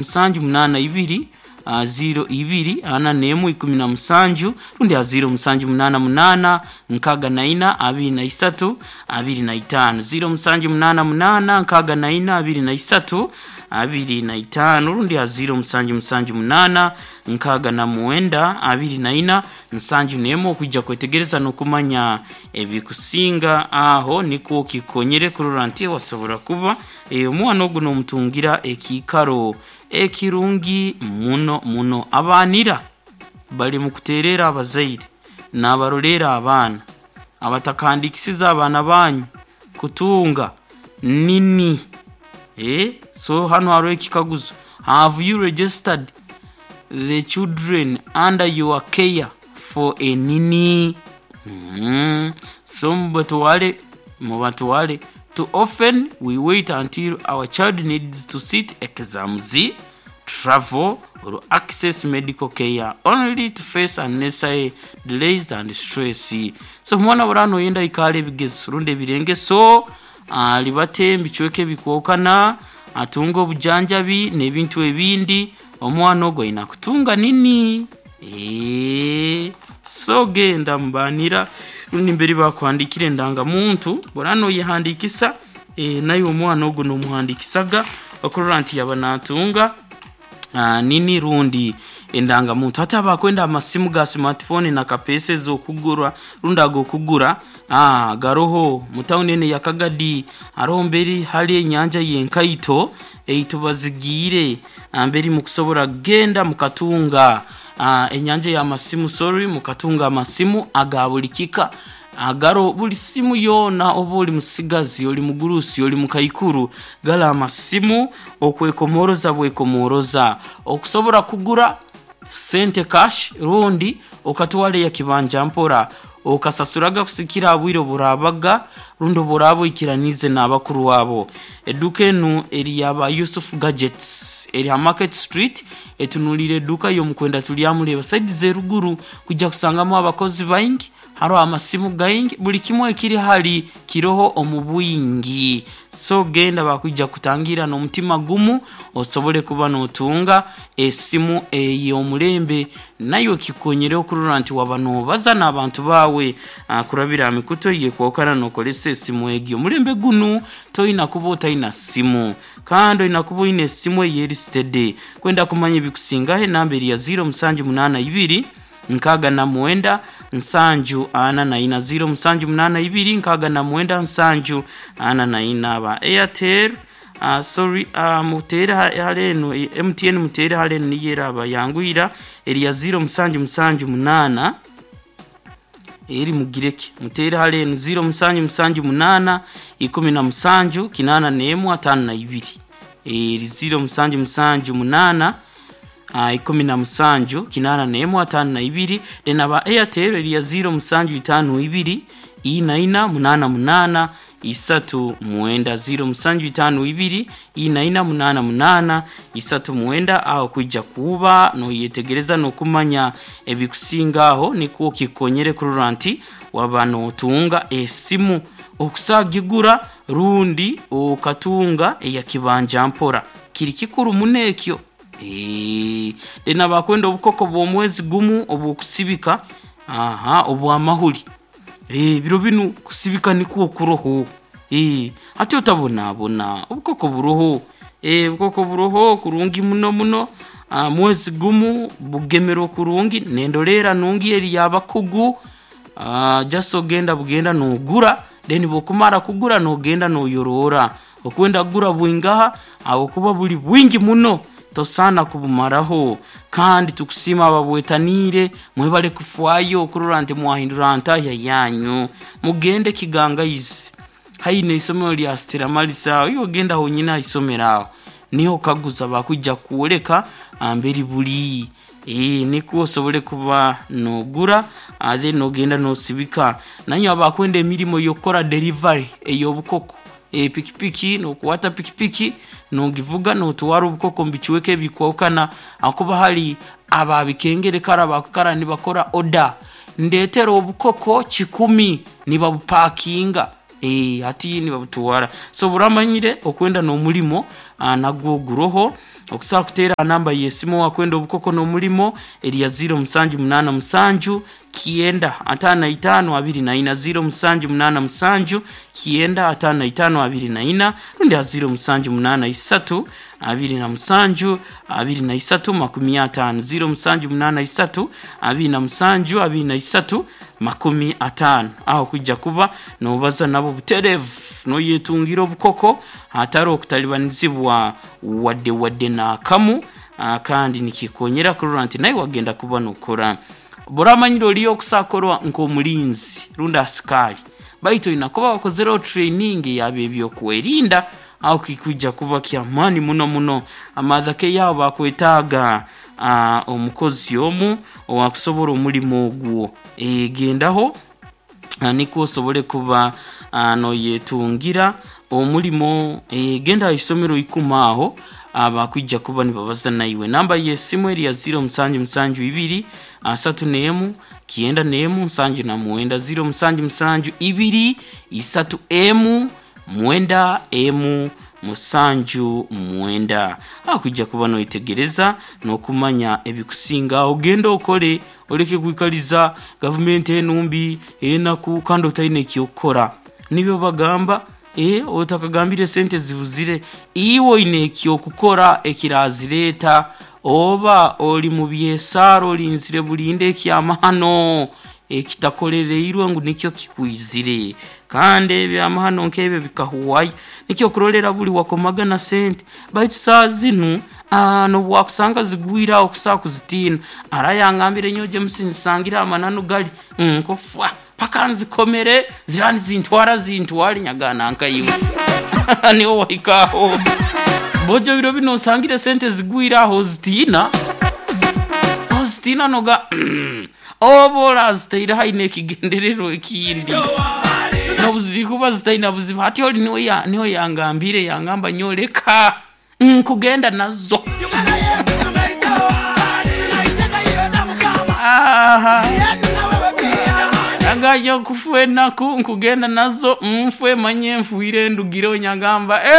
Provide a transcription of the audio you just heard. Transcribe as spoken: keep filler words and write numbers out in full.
Musanju munaana ibiri uh, ziro ibiri ana nemu ikumi na musanju rundi a ziro musanju munaana munaana nkaaga na ina abiri na isatu abiri na itaano, ziro musanju munaana munaana nkaaga na ina abiri na isatu abiri na itaano rundi a ziro musanju musanju munaana nkaaga na mwenda abiri na ina nsanju nemu okwijja kwetegereza n'okumanya ebikusinga aho nikwo kikonyere kurora nti wasobora kuba eh, omwana ogu n'omutungira ekiikaro ekirungi muno muno. Abaanira bali mu kuteerera abazaire n'abaroleera abaana abatakandikisiza abaana banyu kutunga nini. eh? So hano hariho ekikaguzo: have you registered the children under your care for a nini? mm. So mubatwale mubatwale. Too often we wait until our child needs to sit exams, travel or access medical care, only to face unnecessary delays and stress. So omwana burano oyenda ikale ebigezo rundi ebirengeso alibate ebicweka ebikwokana atunga obujanjabi n'ebintu ebindi, omwana ogwo aina kutunga nini. Eee, so genda mubanira rundi mbere bakuhandikira endangamuntu burano oyehandikisa, e, naye omwana ogwo nomuhandikisaga okurora nti yaba natunga uh, nini rundi endangamuntu. Hati abakwenda amasimu ga smartphone na kapesa ezokugura rundi agokugura, ah, garoho mutawuni ene ya Kagadi hariho mberi hari enyanja yenkaito eitubazigiire mberi mukusobora genda mukatunga uh, enyanja y'amasimu, sorry, mukatunga amasimu aga buli kika agaro buli simu yoona, oba oli musigazi, oli mugurusi, oli mukaikuru, gala amasimu okwekomoroza bwekomoroza okusobora kugura sente cash rundi okatwara eya kibanja mpora okasasuraga kusikira abwire oburabaga rundi oburaba oikiranize n'abakuru abo. Eduka enu eri yaba Yusuf Gadgets, eri ha Market Street, etunuliire eduka y'omukwenda tulyamureba saidi z'eruguru kujja kusangamu abakozi baingi, hariho amasimu gaingi, buli kimwe ekiri hali kiroho omu bwingi. So genda bakwija kutangira n'omutima gumu osobole kuba n'otunga esimu ey'omulembe nayo kikonyere okurora nti waba n'obaza n'abantu baawe uh, kurabira mikuto yekwokana n'okozesa esimu egyo. Omulembe gunu toyina kuba otayina simu kandi oyina kuba oyina esimu eyeri steady. Kwenda kumanya ebikusingaho, enamba eri ya ziro musanju munaana ibiri nkaaga na mwenda nsanju ana na ina, ziro musanju munaana ibiri nkaaga na mwenda nsanju ana na ina. Aba Airtel, uh, sorry, uh, mutere hale eno M T N, mutere hale eno niyo eraba yangwira eri ya ziro musanju musanju munaana eri mugireke mutere hale eno ziro musanju musanju munaana ikumi na musanju kinaana n'emu ataano na ibiri, eri ziro musanju musanju munaana uh, ikumi na musanju kinaana n'emu ataano na ibiri. Then aba Airtel eri ya ziro musanju itaano ibiri ina ina munaana munaana isatu mwenda, ziro musanju itaano ibiri ina ina munaana munaana isatu mwenda. Aho kwijja kuba noyetegereza n'okumanya ebikusinga aho nikwo kikonyere kurora nti waba notunga esimu okusagigura rundi okatunga eya kibanja mpora, kiri kikuru muno ekyo. Then abakwenda obukoko bw'omwezi gumu obwokusibika, aha, obwamahuri, ebiro binu kusibika nikwo kuroho. e, ati otabonabona, obukoko buroho, e, obukoko buroho kurungi muno muno. uh, mwezi gumu bugemerwa kurungi nendolera nungi eri yabakugu. uh, just ogenda bugenda nogura, then bwokumara kugura nogenda noyorora okwenda kugura bwingaha aho buli bwingi muno tosana kubumaraho. Kandi tukusima ababwetanire mwebale kufwayo okurora nti mwahindura ntahya yanyu. Mugende Kigangaizi haine isomero lya Stella Marisa, iyo ogenda honyine haisomero aho niho kaguza bakwijja kwoleka amberi buli e, nikwo osobole kuba nogura then nogenda nosibika. Nanyo abakwenda emirimo yokukora delivery ey'obukoko, e, pikipiki nokuwata pikipiki nogivuga notwara obukoko mubicweka ebikwokana akuba hali ababikengere kara abakukara nibakora oda ndetera obukoko kikumi nibabupakinga, e, hati nibabutwara. So buramanyire okwenda n'omulimo nagwo guroho. Okusobola kuteera namba y'esimu wakwenda obukoko n'omulimo eri ya ziro musanju munaana musanju kyenda ataano na itaano abiri na ina, ziro musanju munaana musanju kyenda ataano na itaano abiri na ina, rundi ha ziro musanju munaana isatu abiri na musanju abiri na isatu makumi ataano, ziro musanju munaana isatu abiri na musanju abiri na isatu makumi ataano. Aho kujja kuba nobaza nabo butereevu noyetungira obukoko hatari okutalibanizibwa wadde wadde n'akamu. Ah, kandi nikikonyera kurora nti nawe wagenda kuba nokora buramanyire oliyo okusakorwa nk'omulinzi rundi asikali, baitu olina kuba wakozereho training yaba ebyokwerinda. Aho kikujja kuba kyamaani muno muno. Amathake yabo bakwetaaga ah, omukozi omu owakusobora omulimu ogwo. E, gendaho ah, nikwo osobole kuba ah, noyetungira omulimo. E, genda isomero ikumi aho abakwijja kuba nibabaza naiwe. Namba y'esimu eri ya ziro musanju musanju ibiri asatu n'emu kyenda n'emu nsanju na mwenda, ziro musanju musanju ibiri isatu emu mwenda emu musanju mwenda. Akujja kuba noyetegereza n'okumanya ebikusinga. Ogenda okole, oleke kwikaliza gavumenti enumbi enaku kandi otalina ekyokukora. Nibyo bagamba, eh, otakagambire sente zibuzire, iwe oine ekyokukora ekirazireeta. Oba oli mu byesaaro olinzire bulinde ekyamahano ekitakolereirwe ngu nikyo kikwizire, kandi ebyamahano nk'ebyo bikahuwayo. Nikyo kurolera buli wakomaga na sente, baitu saa zinu ah, nobwakusanga zigwire aho kusaa kuzitiina. Arayangambire nyowe James nsangire amananu gali nkofwa paka nzikomere zirani zintwara zintwale nyagana nkaiwe niho wahikaho bojo biro bino osangire sente zigwire aho ozitiina ozitiina noga mm, oba oraziteire haine ekigendererwa ekindi nobuzikuba zitaina buzibu. Hati oli niwe ya- niwe yangambire yangamba nyoleka nkugenda nazo. Aha. Agayo kufu enaku nkugenda nazo nfwe manye nfuire ndugire nyagamba.